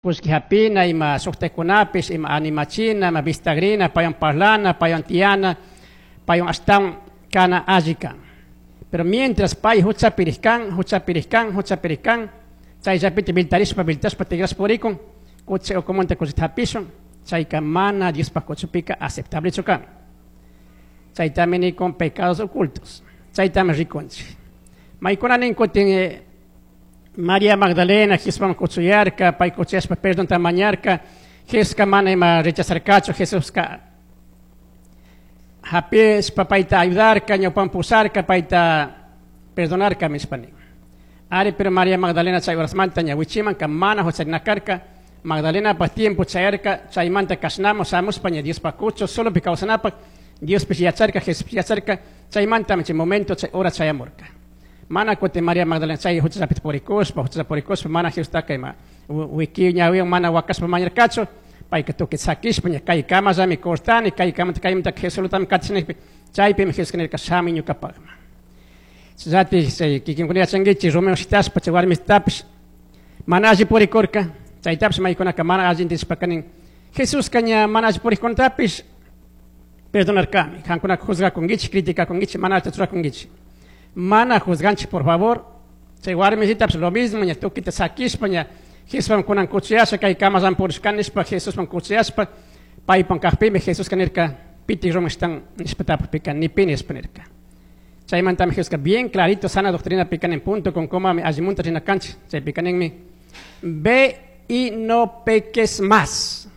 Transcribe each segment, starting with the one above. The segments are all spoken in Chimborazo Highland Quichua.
Kullki hapina, ima shuktakunapish, ima animachina, ima vistagrina, paywan parlana, paywan tiyana, paywan ashtawan kana alli kan. Pero mientras pay huchapi rijkan, huchapi rijkan, huchapi rijkan, chayllapita viltarishpa, viltashpa tigrashpa purikun, kuchi ukumanta kullkita hapishun, chayka mana Diospaj kuchupika aceptablechu kan. Chaytami nikun pecados ocultos. Chaytami rikunchik. Maykuna nin kutin María Magdalena Jesusman kuchuyarka, pay kuchuyashpa perdonta mañarka, Jesuska mana ima rechazarkachu, Jesuska hapishpa payta ayudarka, ñawpan pusharka, payta perdonarka nishpa nin. Ari, pero María Magdalena chay horasmanta ña wichimanka mana hucharina karka, Magdalenapaj tiempo chayarka, chaymanta kashnamo shamushpa ña Diospaj kuchu solopi kawsanapak, Diospish yacharka, Jesuspish yacharka, chaymantami chay momento, chay hora chayamurka. Mana kutin María Magdalena chay huchallapita purikushpa, huchalla purikushpa, mana Jesustaka ima wiki ñawiwan mana wakashpa mañarkachu, payka tukuy sakishpa ña kay kamallami cortani, kay kamanta kaymanta Jesuslutami katisha chaypimi Jesuska nirka shamuy ñukapakman. Chayllatik chay kikinkuna yachankichik, rumiwan shitashpa chay warmitapish mana alli purikurka, chaytapish maykunaka mana alli intendishpaka nin, Jesuska ña mana alli purikkunatapish perdonarkami, kankunaka juzgakunkichik, criticakunkichik, mana allita churakunkichik. Mana juzganchik, por favor, chay warmisitapish lo mismo, ña tukita sakishpa ña Jesusman kunan kuchuyasha, kay kamallan purishkani nishpa Jesusman kuchuyashpa, paypan kakpimi Jesuska nirka, pitik rumi shtan nishpa tapukpika, ni pi nishpa nirka. Chaymantami Jesuska bien clarito sana doctrina pika nin punto con coma mi allimunta rina kanchik, chaypika ninmi, ve y no peques más.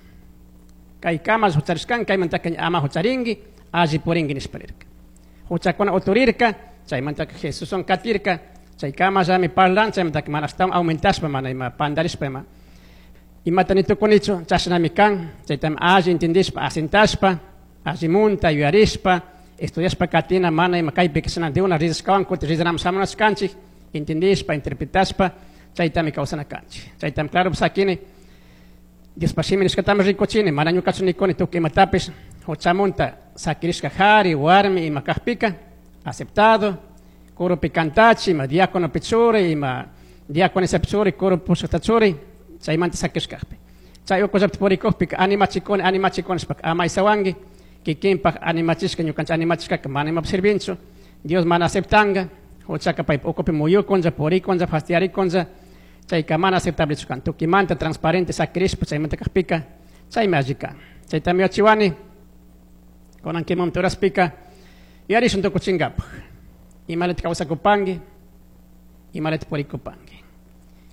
Kay kamal hucharishkan, kaymantaka ña ama hucharinki, alli purinki nishpa nirka. Huchakuna uturirka, chaymantaka Jesuswan katirka, chay kamallami parlan, chaymantaka mana ashtawan aumentashpa, mana ima pandarishpa ima. Imata ni tukunichu, chashnami kan, chaytami alli entendishpa, asentashpa, allimunta yuyarishpa, estudiashpa katina, mana ima kaypi kashna de una rizashkawan, kutin rizanaman shamunachu kanchik, entendishpa, interpretashpa, chaytami kawsana kanchik. Chaytami claro sakini, Diospa shimi nishkatami rikuchini, mana ñukachu nikuni tukuy imatapish, huchamunta sakirishka jari, warmi ima kakpika, aceptado, coropi cantachi, ima diácono pichuri, ima diaconisa pichuri, coro pushkata churi, chaymanta sakishkakpi. Chay ukullapta purikukpika, animachikuni, animachikuni nishpaka ama isawanki, kikinpak animachishka, ñukanchik animachishkaka mana imapi sirvinchu, Dios mana aceptanga, huchaka paypa ukupi muyukunlla, purikunlla, fastidiarikunlla, chayka mana aceptablechu kan. Tukimanta transparente sakirishpa chaymanta kakpika, chaymi alli kan. Chaytami yachiwani, kunan kimamta uraspika, yarishun tukuchinkapak. Imalata kawsakupanki, imalata purikupanki.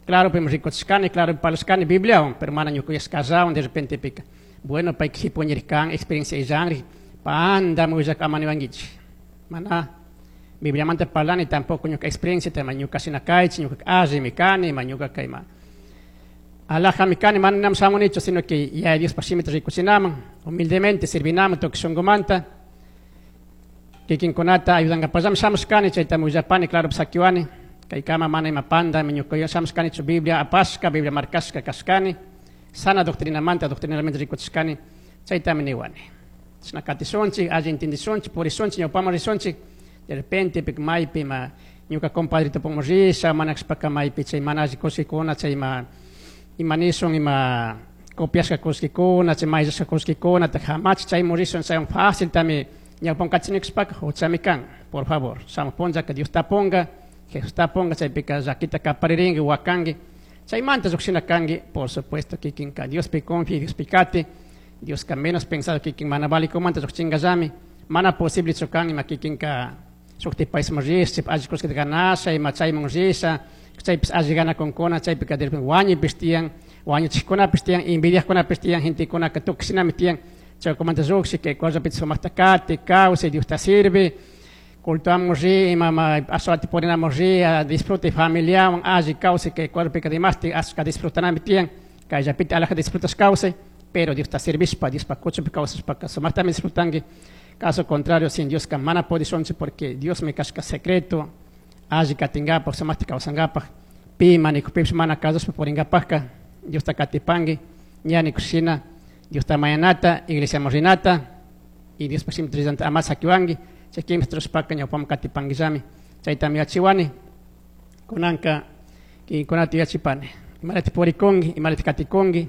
Claro, pim rikuchishkani, claro, parlashkani Bibliawan, pero mana ñukuyashkallawan de repente pika. Bueno, payka jipuñirkan, experiencia illanri, pandami willak ama niwankichik. Mana Bibliamanta parlani, tampoco ñuka experiencia, tema ñuka shina kaychik, ñuka allimi kani, ima ñuka kayma alajami kani, mana nam shamunichu, sino que ya Diospa shimita rikuchinaman, humildemente sirvinaman, tukuy shunkumanta, kikinkunata ayudankapallami shamushkani, chaytami willapani, claro, sakiwani, kaykama mana ima pandami ñuka shamushkanichu, Biblia apashka, Biblia markashka kashkani, sana doctrinamanta, doctrinalmente rikuchishkani, chaytami niwani. Chashna katishunchik, alli entendishunchik, purishunchik, ñawpaman rishunchik, de repente pik maypi ima ñuka compadrito pongo risha, mana kashpaka maypi chay mana alli kushkikuna, chay ima, ima nishun, ima copiashka kushkikuna, chay mayllashka kushkikuna, ta jamach chaymun rishun, chaywan fácil tami ñawpan kachinikshpaka huchami kan, por favor, shamuj punllaka Dios tapunga, Jesús tapunga, chaypika llakita kaparirinki, wakanki, chaymanta llukshina kanki, por supuesto kikinka Diospi confia, Diospi kati, Dioska menos pensado kikin mana valikumanta llukchingallami, mana posible chukan ima kikinka shukti paisman risha, alli kullkita ganasha, ima chayman risha, chaypis alli ganakunkuna, chaypika de repente wañuypish tiyan, wañuchikkunapish tiyan, envidiajkunapish tiyan, gentekunaka tukuy shinami tiyan, chaykumanta llukshi, kay cuerpopita sumakta kati, kawsay, Diosta sirve, cultuamun ri, ima ma ashawata purinamun ri, disfrute familiawan, alli kawsay, kay cuerpopika dimashtik ashka disfrutanami tiyan, kayllapita alaja disfrutash kawsay, pero Diosta sirvishpa, Diospa kuchunpi kawsashpaka sumaktami disfrutanki. Caso contrario, sin Dios ka mana pudishunchik, porque Dios mi kashka secreto, alli katinkapak, sumakta kawsankapak, pi manikupipis mana kasushpa purinkapakka, Diosta katipanki, ña nikushina, Diosta mañanata, iglesiaman rinata, y Diospa shimita rinata ama sakiwanki, chay kimsa trushpaka ñawpaman katipankillami. Chaytami yachiwani, kunanka kikinkunata yachipani. Imalata puricungui, imalata caticungui.